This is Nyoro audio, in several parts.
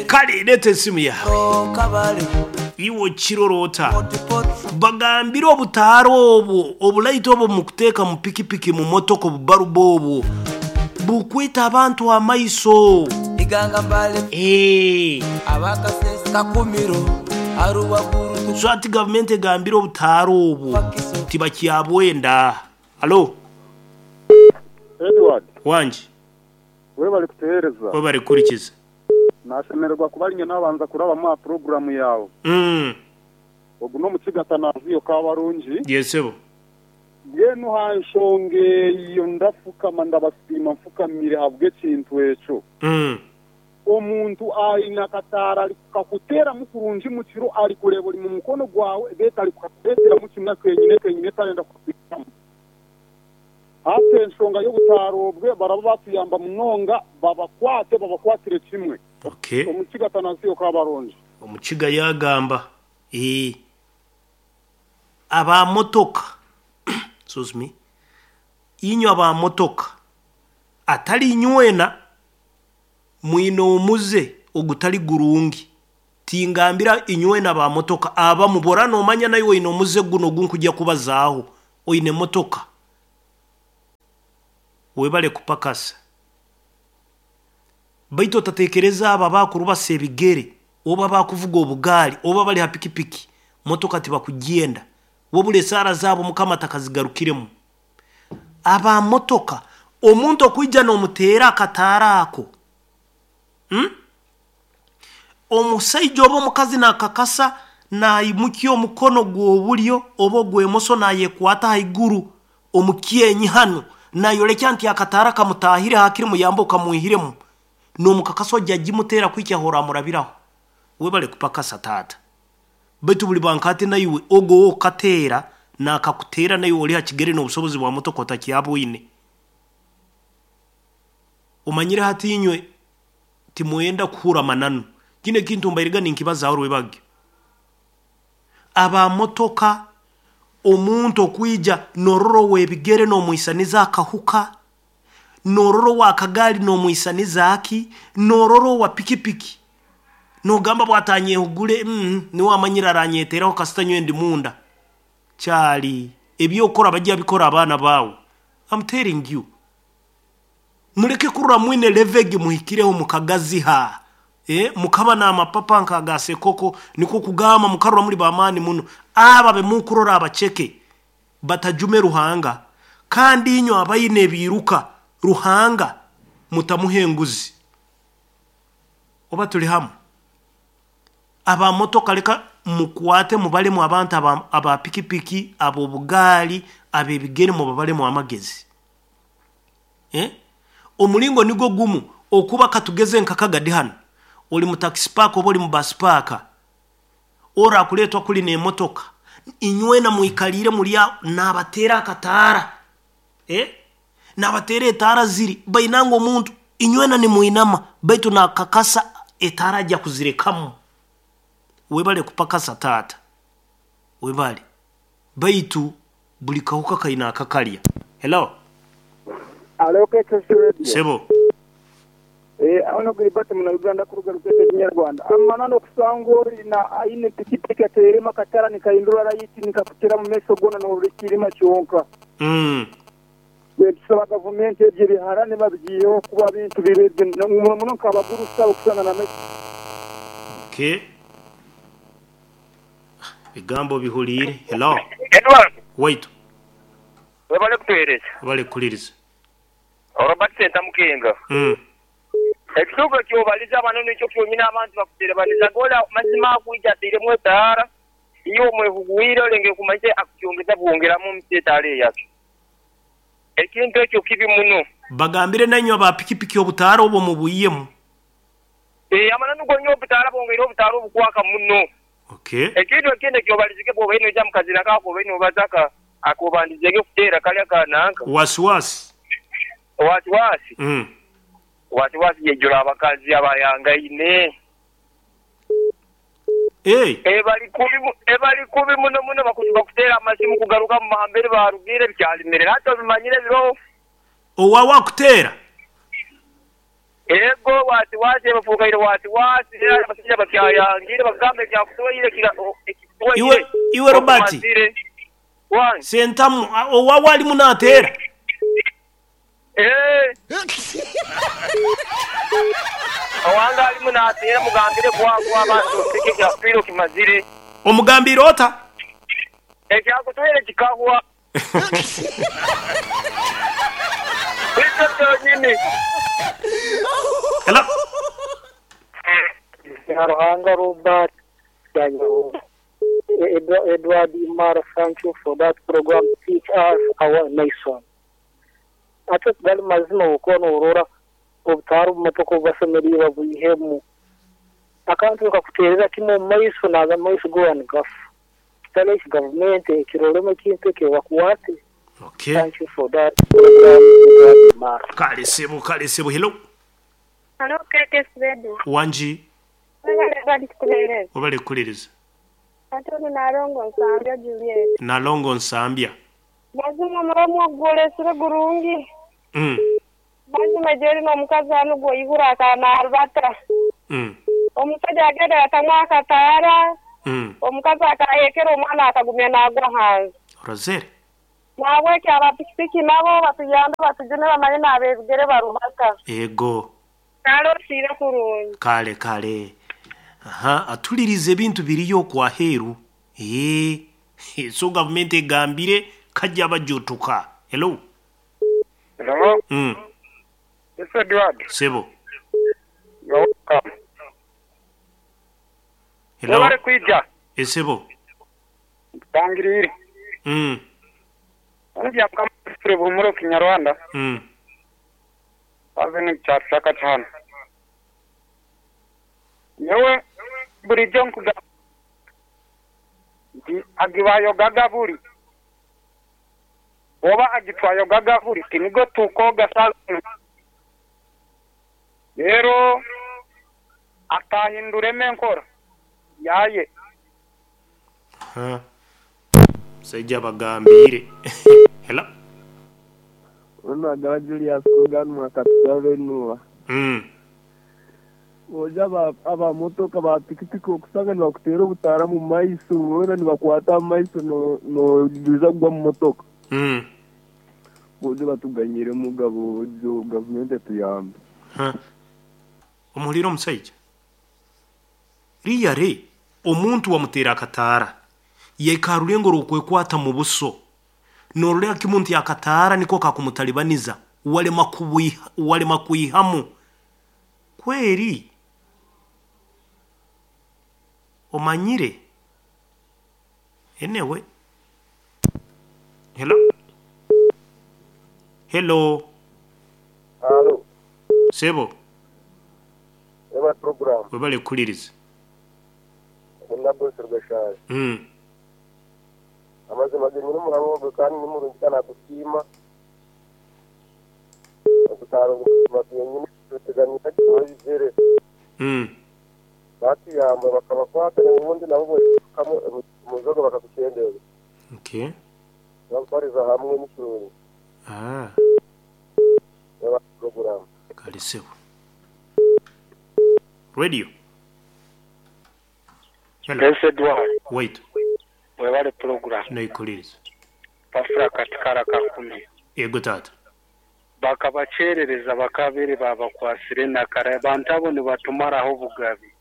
Kale leeta esimu yaawe. Iwe okirora ota? Bagambire obutaara obwo, obulaito obwo mukuteeka mu pikipiki, mu motoka, obubarubu obwo bukwita abantu amaiso. Eeh. So hati gavumenti egambire obutaara obwo tibakyabwenda. Halo. Edward. Wangi. Webale kutuheereza. Webale kuhurikiza. Nashemererwa kuba rinye nabanza kurabamu aha puroguramu yaawe. Ogu n'omukiga Atanaziyo Kabarungi. Yes sebo. Mbwenu aha nshonga eyo ndafukama ndabasiima nfukamire ahabw'ekintu ekyo. Omuntu aine akataara arikukakuteeramu kurungi mukiro arikureeba ori mumukono gwawe beitu arikukakureeteramu kimwe kenyine kenyine tarenda kukakwihamu. Hati enshonga y'obutaaro obwe baraba batuyamba munonga babakwate babakwatire kimwe. Okay. Omukiga Atanasio Kabarongi. Omukiga yaagamba, Eeh, aba motoka, excuse me, inywe aba motoka, atari inywena, mwine omuze ogutari gurungi. Tingambira inywena aba motoka, abamu bw'oraba noomanya naiwe oine omuze gunu ogu nkugya kubazaaho, oine motoka, webale kupakasa. Baitu otatekereza abo abakurubasa ebigere oba abakuvuga obugaali oba abali ha pikipiki, motoka tibakugyenda. Wabura esaara zaabo Mukama atakazigarukiremu. Aba motoka, omuntu okwija n'omuteera akataara ako, hmm? Omusaija oba omukazi nakakasa naimukya omukono gw'obulyo oba ogw'emoso nayekwata haiguru omu kyenyi hanu nayorekya nti akataara kamutaahire hakiri muyambe okamwihiremu n'omukakasa oja agimuteera kuhikya ah'oramurabiraho. Webale kupakasa taata. Baitu buli banka hati naiwe ogu ow'okukateera nakakuteera naiwe ori ha kigere n'obusobozi bwa motoka otakyabwine. Omanyire hati inywe timwenda kuhurra amananu. Kinu ekintu mbairega ninkibazaaho rwebagyo. Aba motoka, omuntu okwija norora ow'ebigere n'omwisaniza akahuka, norora ow'akagaali n'omwisaniza ki, norora owa pikipiki nogamba bw'atanyehugure niwe amanyire aranyeteraho kasita nyowe ndi munda. Kyali eby'okukora bajja bikora abaana baawe. I'm telling you. Muleke kurora mwine level egi muhikireho mukagaziha, eh, mukaba n'amapapa nk'aga sekoko, nikwo kugamba mukarora muli b'amaani muno. Abo abe mukurora abaceke batajume Ruhanga, kandi inywe abaine ebiiruka Ruhanga mutamuha enguzi. Oba tuli hamu? Aba motoka leka mukwate mubalemu abantu aba, aba pikipiki, ab'obugaali, ab'ebigere mubabalemu amagezi. Eh? Omulingo nigwo gumu okuba katugeze nka Kagadi hanu, ori mu taxi park oba ori mu bus park, orakuleetwa kuli n'emotoka, inywena mwikaliire muri aho naabateera akataara. Eh? Naabateera etaara ziri, bainanga omuntu, inywena nimwinama, baitu naakakasa etaara aja kuzirekamu. Webale kupakasa taata. Webale. Baitu buli kahuka kaine akakalya. Hello. Alo KKC Radio. Sebo. Eh, ono Gilbert muna Uganda kuruga Rukete Kinyarwanda. Amananu okusanga ori na aine pikipiki ateremu akatara nikahindura rayiti nikakutera mu maiso gona norora ekiirima kyonka. Baitu tusaba gavumenti ebyo ebiharani babigiiheho kuba bintu bibi ebyo muno muno nk'abagurusi abo kusanga na Okay. Ebigambo obihuliire. Hello. Edward, Waitu. webale kutuhereza. Webale kuhuliriza. Robert Sentamu Kenga. Ekituufu ekyobaliza bano nikyo kyonyini abantu bakuterebanizaga ole mazima akwija atairemu etaara, iwe omwehugwire olengere kumanyisa akukyongeza bwongeramu omuti etaara eyake. Ekintu ekyo kibi muno. Bagambire nainywe aba pikipiki obutaara obwo mubwiyemu. Eeh amananu gonyini obutaara bwongeire obutaara obukwaka muno. Okay. Ekintu ekindi ekyobalizige bwobaire noija mukazira ako akobaire nobaza akobandizege kuteera kali aka nanka. Wasiwasi. Wasiwasi. Wasiwasi yeijura abakazi abayangaine. Eeh. Ebali kubi ebali kubi muno muno bakuteera amasimu kugaruka mumahamberi barugiire bikyalimire hati obimanyire biroho. Owawe akuteera? Ego wasiwasi bafuukaire wasiwasi era abasajja bakyayangire bagamba ekyakutwaire Iwe, iwe Robert. Wangi. Sentamu, owawo alimu nateera? Eeh. Owange alimu nateera mugambire kwagwa abantu oteke ekyakutwaire okimazire. Omugambiire ota? Ekyakutwaire kikahwa. Nikyo kyonyini. Hello. Byaruhanga Robert Daniel Edward Imara thank you for that program teach us our nation. Ate gali mazima bwokuba norora obutaara omu motoka obubasemereire babwihemu. Akantu nikakuterera kimu omu maiso naga amaiso goona nigafa. Kitali eki gavumenti ekiroremu ekintu eki ebakwate. Okay. Thank you for that program Edward Imara. Kale sebo, kale sebo. Hello. Halo KTS Radio. Wangi. Webale Edward kutuhereza. Webale kukuliriza. Ate ono Nalongo Nsambya Juliet. Nalongo Nsambya. Mazima omuramwa ogu gwolesire gurungi. Mazima gyeri n'omukazi anu gwoihura akaba narubata. Omusaija yagenda yatamu akataara, omukazi akahekera omwana akagumya nagwa hansi. Orozere? Nahabweki aba pikipiki nabo batuyambe batujune bamanye n'abebigere barubata. Ego. Kale osiibe kurungi. Kale kale. Aha, atulirize ebintu biriyo okwo aheeru. Eeh, so gavumenti egambire kajja bajutuka. Hello. Hello. Yes Edward. Sebo. You're welcome. Hello. Webale kwija. Esebo. Ntangiriire. Ono Byamukama Godfrey Buhumura Okinyarwanda. Haza ni kyatushaka kyana. Nyowe burijo nkugamba nti agibayogaga buri oba agitwayogaga buri tinigo tukoga saza. Rero atahinduremo enkora yaye. Ha. Musajja bagambire. Hello. Ono agaba Julius Kugan mwakatusabe nuwa. Oja aba motoka ba pikipiki okusanga nibakuteera obutaara mu maiso, boona nibakwata mu maiso nojuza kugwa mu motoka. Bojo batuganyire mugabo bojo gavumenti etuyambe. Ha. Omuhulire omusaija. Riyare omuntu wamuteera akataara. Yekarulengo rukwekwata mu buso. Noroleka kimuntu yakataara niko kakumutalibaniza. Walema kuihamu. Kweri omanyire. Enewe. Hello. Hello. Halo. Sebo. Eba program. Webale kuliriza. Ndabo sergashaje. Amazima ge nyine murabo kandi ni murungi kana kutima. Okutaro nyine tuteganyira kibizere. Batiyamba bakabakwata ubundi nabo boshikamo muzoga bakakucendeza. Okay. Bakoriza hamwe n'ikirungi. Ah. Eba program. Kale sebo. Radio. Hello. Yes, Edward. Wait. Webale program. Naikuliriza. Bafura katikara kakumi. Yego tata. Bakabacherereza bakabere babakwasire nakara abantu abo nibatumaraho obugabi.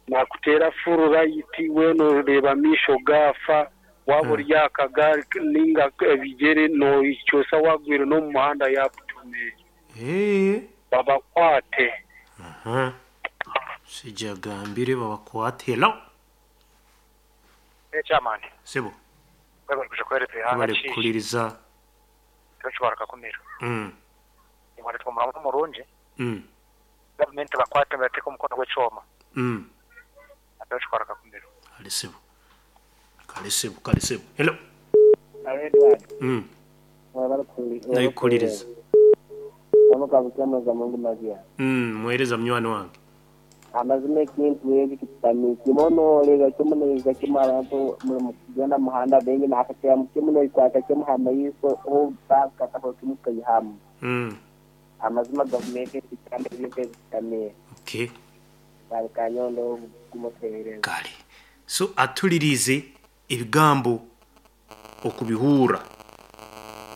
Nakutera furu right weno reba misho gafa waba ori akagari ninga ebigere no ikyosa wagwire no mu muhanda yakutume. Babakwate. Sijagambire babakwate. Hello. Chairman. Sebo. Webale kuja kwereka ihanga Webale kuliriza. Tuchwara kakumiro. Imwale tukumuramu murungi. Government bakwate bateka omukono gw'ekyoma. Tuchwara kakumiro. Kale sebo. Kale sebo, kale sebo. Hello. Edward. Naikuliriza. Kama za Mungu mazia. Muhereza munywani wange. Amazima ekintu eki kitami kimono lega kimono kimara mugenda muhanda bengi nakatya mukimuno ikwata kimuhama yiso o baka tako kimukayihamu. Amazima gavumenti ezitamba ebintu ebitamiire. Okay. Kale Kanyondo guma otuheereze. Kale. So atuliriize ebigambo okubihurra.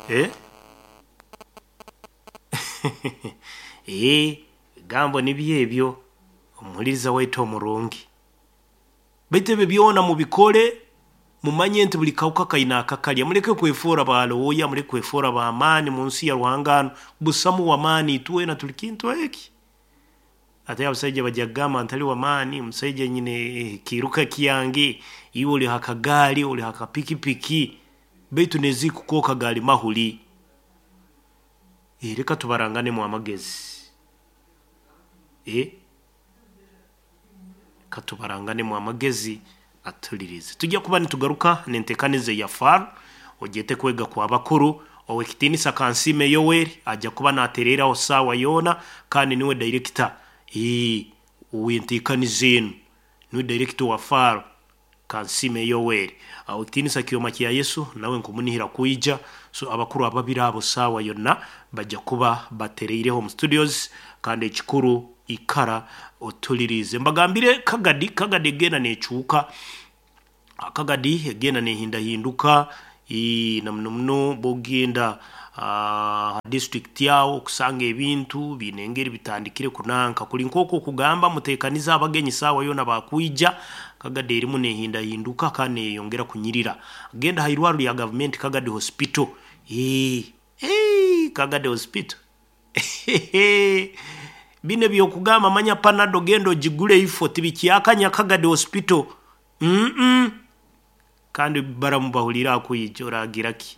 Eh? Eeh, ebigambo nibyo ebyo omuhuliriza waitu omurungi. Baitu ebyo byona mubikole mumanye nti buli kahuka kaine akakalya. Muleke kwefoora ba looya, muleke kwefoora b'amaani mu nsi ya Ruhanga hanu. Busamu w'amaani itwena tuli kintu eki. Ate abasaija bajja kugamba ntali w'amaani, omusaija nyine ekiiruka kyange, iwe oli ha kagaali, oli ha kapikipiki, baitu n'ezikukooka gaali mahuli. Leka tubaranganemu amagezi. Leka tubaranganemu amagezi atulirize. Tujja kuba nitugaruka n'enteekaniza eya FAR, ogyete kwega kw'abakuru, ow'ekitiinisa Kansiime Yoweri ajja kuba naatereeraho saawa yoona kandi niwe dayirekita ow'enteekaniza enu, niwe dayirekita owa FAR Kansiime Yoweri. Ow'ekitiinisa Kyoma kya Yesu nawe nkumunihira kwija, so abakuru ababiri abo saawa yonna bajja kuba batereireho omu studios kandi ekikuru ikara otuliriize. Mbagambire Kagadi, Kagadi egenda neecuuka, Kagadi egenda neehindahinduka na muno muno bw'ogenda ha disiturikiti aho okusanga ebintu biine engeri bitandikire kunanka. Kuli nk'oku okugamba muteekanize abagenyi saawa yoona baakwija, Kagadi erimu neehindahinduka kandi neeyeyongera kunyirira. Genda ha irwarro lya gavumenti Kagadi Hospital, Kagadi Hospital binu eby'okugamba manya Panado genda ogigule ifo tibikyakanya Kagadi Hospital. Kandi baramu bahuliire akwija oragira ki?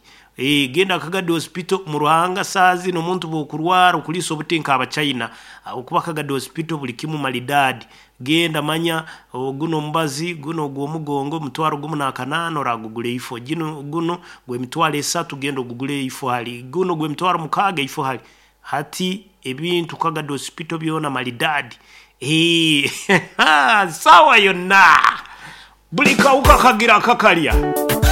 Genda Kagadi Hospital mu Ruhanga saaha zinu omuntu bw'okurwara okuliisa obuti nk'Abachina habwokuba Kagadi Hospital buli kimu malidaadi. Genda manya gunu omubazi, gunu ogw'omugongo mutwaro gumu n'akanaana oraagugura ifo, ginu gunu gw'emitwaro esatu genda ogugule ifo hali, gunu gw'emitwaro mukaaga ifo hali. Hati ebintu Kagadi Hospital byona malidaadi. Saawa yonna buli kahuka kagira akakalya.